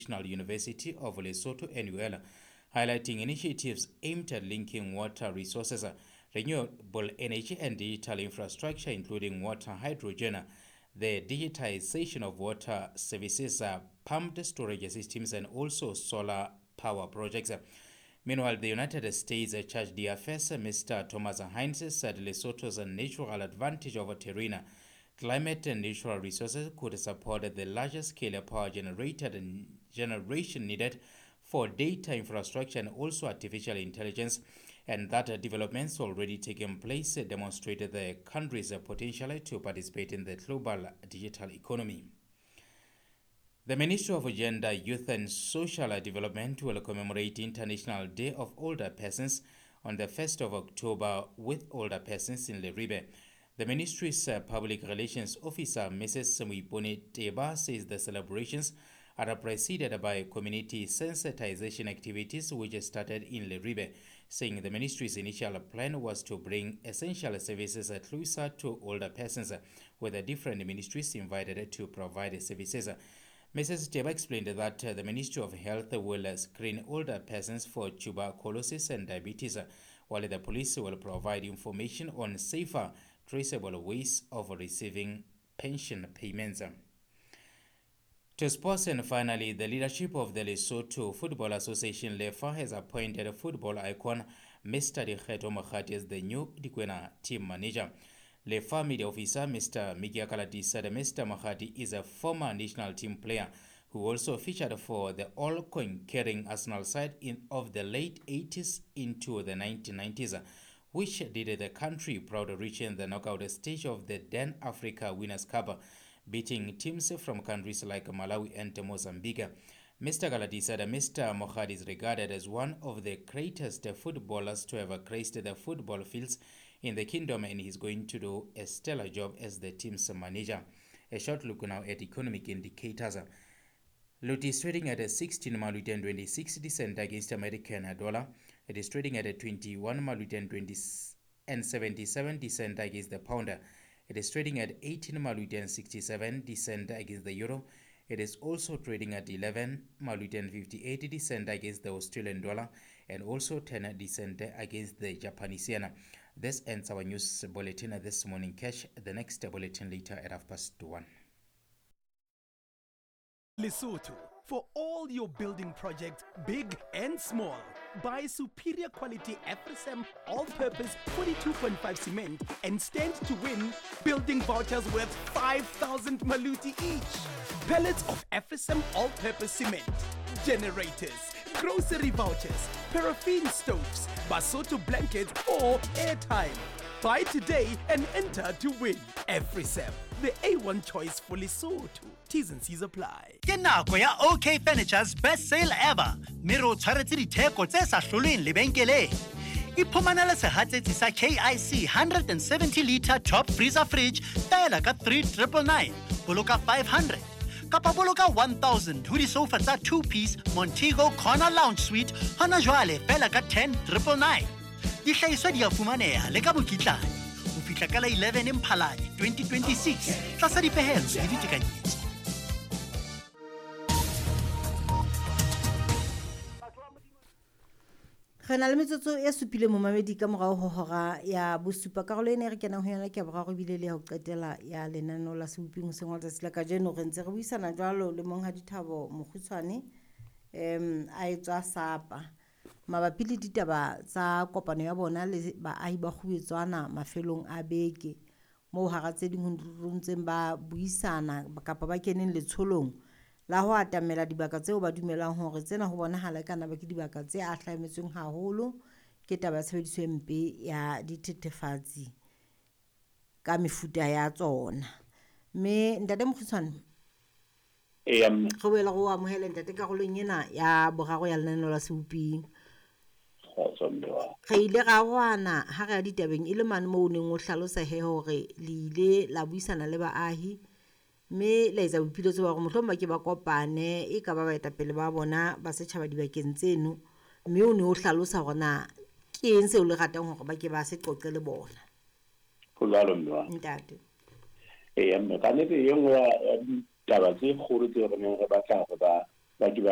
National University of Lesotho, NUL, highlighting initiatives aimed at linking water resources, renewable energy and digital infrastructure, including water hydrogen, the digitization of water services, pumped storage systems and also solar power projects. Meanwhile, the United States Charge d'Affaires, Mr. Thomas Hines, said Lesotho's natural advantage over terrain, climate and natural resources could support the larger scale power generated and generation needed for data infrastructure and also artificial intelligence, and that developments already taking place demonstrated the country's potential to participate in the global digital economy. The Ministry of Gender, Youth and Social Development will commemorate International Day of Older Persons on the 1st of October with older persons in Leribe. The ministry's public relations officer, Mrs. Muipone Teba, says the celebrations are preceded by community sensitization activities which started in Leribe, saying the ministry's initial plan was to bring essential services closer to older persons, with the different ministries invited to provide services. Mrs. Teba explained that the Ministry of Health will screen older persons for tuberculosis and diabetes, while the police will provide information on safer, traceable ways of receiving pension payments. To sports, and finally, the leadership of the Lesotho Football Association, LEFA, has appointed football icon Mr. Dikgetho Mokgadi as the new Dikwena team manager. LEFA media officer Mr. Mikia Kalati said Mr. Mokgadi is a former national team player who also featured for the all-conquering Arsenal side of the late 80s into the 1990s, which did the country proud, reaching the knockout stage of the then Africa Winners' Cup, beating teams from countries like Malawi and Mozambique. Mr. Galati said Mr. Mokgadi is regarded as one of the greatest footballers to ever graced the football fields in the kingdom, and he's going to do a stellar job as the team's manager. A short look now at economic indicators. Loti is trading at a 16 Maluti and 26 cent against American dollar. It is trading at a 21 Maluti and 20 and 77 cent against the pound. It is trading at 18 Maluti and 67 cent against the euro. It is also trading at 11 Maluti and 58 cent against the Australian dollar, and also 10 cent against the Japanese yen. This ends our news bulletin this morning. Catch the next bulletin later at 1:30. Lesotho, for all your building projects, big and small, buy superior quality Afrisam all-purpose 42.5 cement and stand to win building vouchers worth 5,000 maluti each. Pallets of Afrisam all-purpose cement, generators, grocery vouchers, paraffin stoves, Basotho blankets or airtime. Buy today and enter to win. Afrisam, the A1 choice for Lesotho. T's and C's apply. Ke nako ya OK Furniture's best sale ever. Mme re o tshwaretse ditheko tse sa hlolweng lebenkeleng. Iphumanele sehatsetsi sa KIC 170 liter top freezer fridge fela ka 3999, boloka 500. Kapa boloka 1000 ho disofa tsa 2-piece Montego Corner Lounge Suite hona jwale fela ka 10999. Dihlahiswa di a fumaneha le ka mokitlane ho fihla ka la 11 Mphalane 2026 tlasa dipehelo le ditekanyetso. Re na le metsotso e supile momamedi ka morao ho hora ya bosupa. Karolo ena e re kenang ho yona ke ya boraro ebile le ya ho qetela ya lenaneo la Seboping hoseng wa letsatsi la kajeno. Re ntse re buisana jwalo le Monghadi Thabo Mokgutshwane, a etswa Sapa, mabapi le ditaba tsa kopano ya bona le baahi ba Kgubetswana mafelong a beke, moo hara tse ding ho ntseng ba buisana kapa ba keneng letsholong la ho atamela dibaka tseo ba dumelang hore tsena ho bonahala e kana ba ke dibaka tse ahlametsweng haholo ke taba ya tshebediso e mpe ya dithethefatsi ka mefuta ya tsona. Mme ntate Mokgutshwane, Eya, mme. re boela go amohele ntate karolong ena ya boraro ya lenaneo la Seboping. Kgotso mme wa. Re ile ra arohana ha re ya ditabeng e le mane moo o neng o hlalosa he hore le ile la buisana le baahi mme la etsa boipiletso ba hore mohlomong ba ke ba kopane e ka ba baetapele ba bona ba setjhaba dibakeng tseno, mme o ne o hlalosa hore na ke eng seo le ratang hore ba ke ba se qoqe le bona. Ho jwalo mme wa. Ntate. Eya mme, ka nnete e nngwe ya ditaba tse kgolo tseo re neng re batla hore ba Ba ke ba.